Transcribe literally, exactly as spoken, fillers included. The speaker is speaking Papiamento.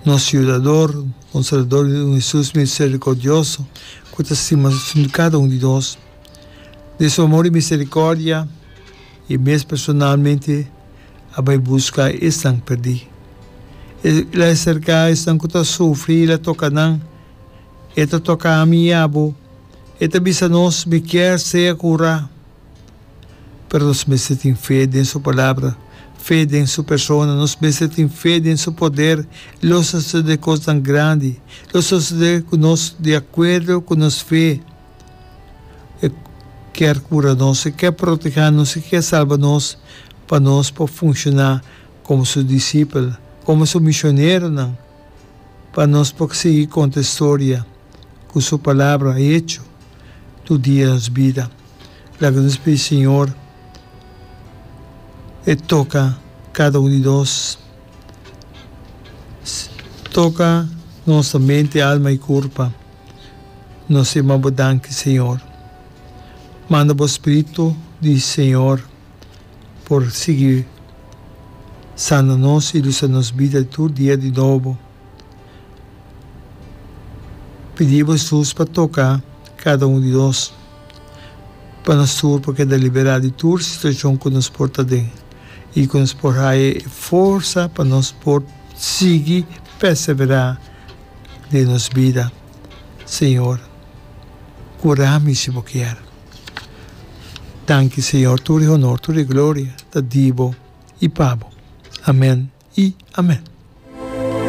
Nos Yudador, Konsolador i un Hesus miserikordioso ku ta stima kada un di nos. Den su amor i miserikòrdia, E mes personalmente a bai buska esnan perdí. El a aserká esnan ku ta sufri i el a toka nan. E ta toka ami i abo. E ta bisa nos, Mi kier sea kurá. Pero nos mester tin fe den su Palabra, fe den su persona, nos mester tin fe den su poder. Lo sosodé kosnan grandi, lo sosodé ku nos di akuerdo ku nos fe. E kier kura nos, e kier protehá nos, e kier salba nos pa nos por funshoná komo su disipel, komo su misioneronan, pa nos por sigui konta e storia ku su Palabra hecho tur dia nos bida. Laga nos pidi Señor e toka kada un di nos. Toka nos mente, alma i kurpa. Nos yama bo danki, Señor. Manda bo Spiritu di Señor por sigui sana nos i lusa nos bida tur dia di nobo. Pidi bo Hesus pa toka kada un di nos, pa nos tur por keda liberá di tur situashon ku nos por ta den i ku nos por haya e forsa pa nos por sigui perseverá den nos bida. Señor, kura mi si bo kier. Danki Señor, tur e honor, tur e gloria ta di bo i pa bo. Amen i amen.